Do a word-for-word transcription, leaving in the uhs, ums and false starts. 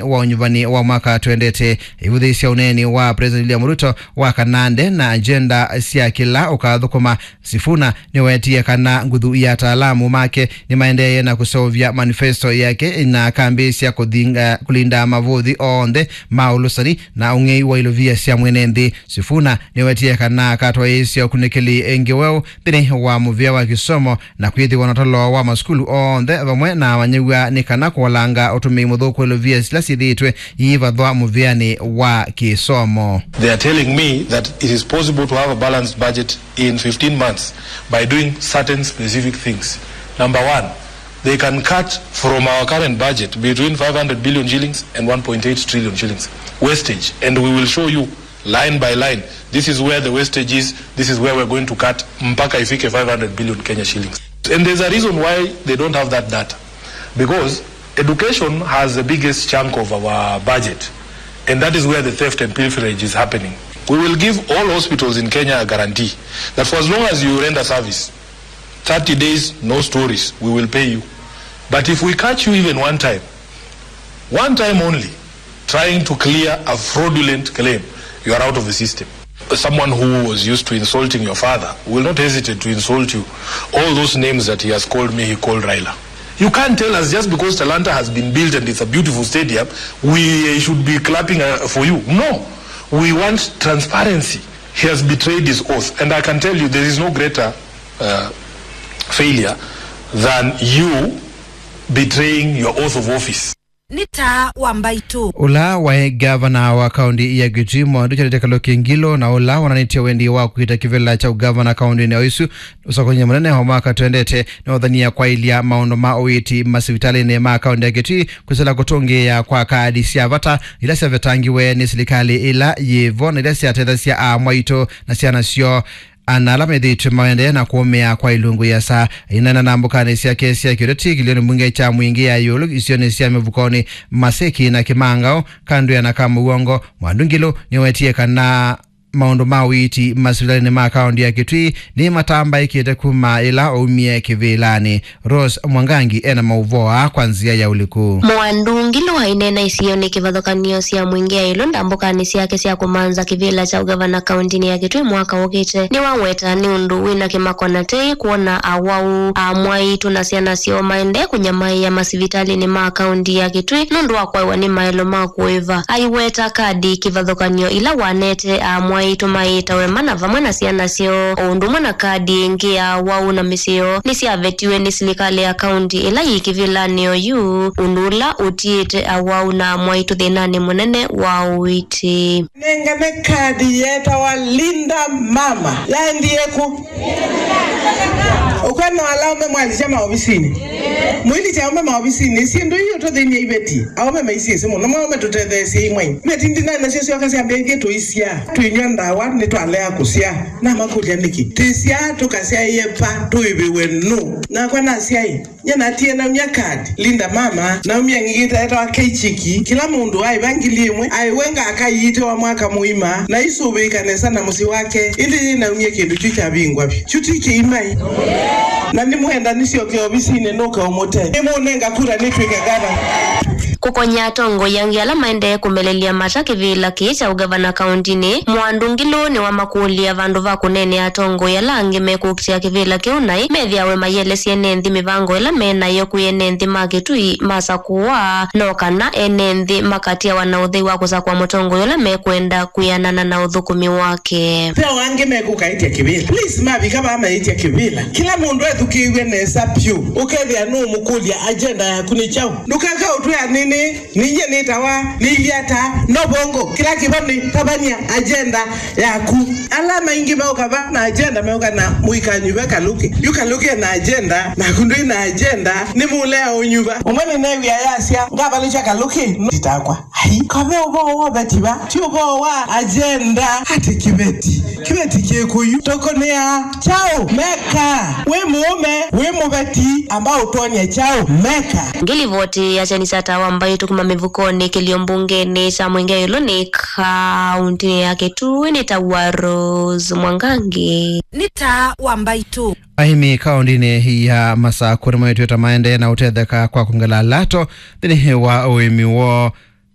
wa ũnyuvani wa mwaka twendete. Ivũthĩĩsya ũneeni wa President William Ruto wa kana nde na agenda sya kĩla ũkathũkũma, Sifuna nĩwetie kana nguthu ya ataalamu make nĩmaendeeye na kũseũvya manifesto yake na akambĩĩsya kũthinga, kũlinda mavũthi onthe ma ũlũsani na ũng'ei wa ilovia sya mwene nthĩ. Sifuna nĩwetie kana akatwaĩĩsya ũkunĩkĩli ĩngĩ weũ nthĩnĩ wa mũvĩa wa kĩsomo na kwĩthĩwa na ũtalo wa masukulu onthe vamwe na amanyĩw'a nĩ kana kũolanga ũtũmĩi mũthũku wa ilovia sila syĩthĩĩtwe iivathwa mũvĩanĩ wa kĩsomo. They are telling me that it is possible to have a balanced budget in fifteen months by doing certain specific things. Number one, they can cut from our current budget between five hundred billion shillings and one point eight trillion shillings wastage, and we will show you line by line. This is where the wastage is, this is where we're going to cut, mpaka ifike five hundred billion Kenya shillings. And there's a reason why they don't have that data, because education has the biggest chunk of our budget, and that is where the theft and pilferage is happening. We will give all hospitals in Kenya a guarantee that for as long as you render service, thirty days, no stories, we will pay you. But if we catch you even one time, one time only, trying to clear a fraudulent claim, you are out of the system. Someone who was used to insulting your father will not hesitate to insult you. All those names that he has called me, he called Raila. You can't tell us just because Talanta has been built and it's a beautiful stadium, we should be clapping, uh, for you. No, we want transparency. He has betrayed his oath, and I can tell you there is no greater, uh, failure than you betraying your oath of office. Nĩ taa wa mbaitũ. Ũla waĩ gavana wa kaũnti ya Kitui, Mwandu Charity Kaluki Ngilu, na ũla wonanĩtye wendi wa kwĩta kĩvĩla kya ũgavana kaũntinĩ o ĩsu, ũsakũny'a mũnene wa mwaka twendete nĩwathanie kwaĩlya maũndũ ma ũiiti masivitalĩnĩ ma kaũnti ya Kitui, kwĩsĩla kũtũngĩĩa kwa kaadi sya vata ila syavetangiwe nĩ silikalĩ ĩla yĩvo na ila syatethasya aamwaitũ na syana syoo, ana ala methĩĩtwe maendee na kũũmĩa kwa ilungu iasa. Aineena nambũkanĩ syake sya kĩũteti kĩlĩonĩ mbunge kya Mwingĩ ya ĩũlũ isionĩ sya Mĩvukonĩ, Maseki na Kĩmangaũ, Kandwĩa na Kamũw'ongo, Mwandu Ngilu nĩwetie kana maũndũ ma ũiiti masivitalĩnĩ ma kaũnti ya Kitui nĩmatambaĩkĩte kuma ĩla aumie kĩvĩlanĩ. Rose Mwangangi ena maũvoo aa kwa nzĩa ya ũliku. Mwandu Ngilu aineena isionĩ kĩvathũkany'o sya Mwingĩ ya ĩũlũ ndambũkanĩ syake sya kũmantha kĩvĩla kya ũgavana kaũntinĩ ya Kitui mwaka ũkĩte. Nĩwaweta nĩ ũndũ wĩna kĩmako na tei kwona awau aamwaitũ na syana syoo maendee kũnyamaĩa masivitalĩnĩ ma kaũnti ya Kitui nũndũ wa kwaĩwa nĩ maelo ma kũĩva. Aiweta kadi kĩvathũkany'o ila wanete aamwaitũ mayĩtawe mana vamwe na syana syoo, o ũndũ ũmwe na kadi ĩngĩ ya awau na mĩsyĩ yoo nĩsyavetiwe nĩ silikalĩ ya kaũnti ĩla yĩ kĩvĩlanĩ oyu, ũndũ ũla ũtiĩte awau na aamwaitũ thĩnanĩ mũnene wa ũiiti. Nengane kadi yetawa Linda Mama. Yaendie kũ? Ũkwenda ala aume mwalisya maovisinĩ. Mwilikya aume maovisinĩ, syĩndũ ii ũtũthĩny'a iveti. Aume maisiĩsĩ mũno, maume tũtetheesye imwe. Iveti ndinai nasyo syoka syambĩĩkie tũisyaa. Tũinywa ndawa, nĩtwalea kũsyaa. Namakũlya nĩkĩ? Tũisyaa tũkasyaĩe va, tũĩvĩwe nũ? Nakwa nasyaĩ. Nye natie naumya kadi, Linda Mama, naumya ngigita etawa Keichiki, kĩla mũndũ aĩva ngili ĩmwe, aĩwe ngaka iitĩwa mwaka mũima, na isũvĩĩka nesa na mũsyĩ wake, ĩndĩ yĩ naumya kĩndũ kyu kyavingwa vyũ. Kyu ti kĩimai. Na nĩmwenda nĩsyoke ovisinĩ nũke ũmũte. Nĩmũnenga kura nĩtw'ĩke gavana. Kũkony'a atongoi angĩ ala maendee kũmelelya mata kĩvĩla kĩĩ kya ũgavana kaũntinĩ, Mwandu Ngilu nĩwamakũlya vandũ va kũneenea atongoi ala angĩ mekũkitĩa kĩvĩla kĩu naĩ methĩawe mayĩelesya ene nthĩ mĩvango ĩla me nayo kwĩ ene nthĩ ma Kĩtui masakũwa, no kana ene nthĩ makatiawa na ũthei wa kũsakũa mũtongoi ũla mekwenda kwĩanana na ũthũkũmi wake. Ve o angĩ mekũkaĩtya kĩvĩla. Please, mavika vaa maĩtya kĩvĩla. Kĩla mũndũ ethukĩĩw'e nesa vyũ, ũkethĩa nũũmũkũlya agenda yaku nĩ kyaũ. Ndũkeka ũtwĩa nĩnĩ. Ninyie nĩtawa Liliata Nobongo. Kĩla kĩvo nĩ tavany'a agenda yaku. Ala maingĩ meũka va na agenda, meũka na mũikanyuva Kalũkĩ. Yu Kalũkĩ ena agenda, naku ndwĩ na agenda, nĩmũlea ũnyuva. Ũmwe nĩneew'ĩa yasya, ngavalũkya Kalũkĩ, no titakwa. Ai, kave ũvoo wa ũveti va, ti ũvoo wa agenda. Ati kĩveti, kĩveti kĩkũyu, tũkũnĩa kyaũ? Meka, wĩ mũũme, wĩ mũveti, amba ũtwony'e kyaũ? Meka. Ngilivoti ya kyeni kya Taa wa Mbaitũ kuma mĩvukonĩ kĩlio mbungenĩ kya Mwingĩ Ĩũlũ nĩ kaũntĩnĩ ya Kitui nĩ ta wa Rose Mwangangi. Nĩ Taa wa Mbaitũ. Aĩmi kaũntĩnĩ ya Masakũ nĩmaĩtw'ĩte maendee na ũtetheka kwa kwongela lato nthĩnĩ wa ũĩmi woo.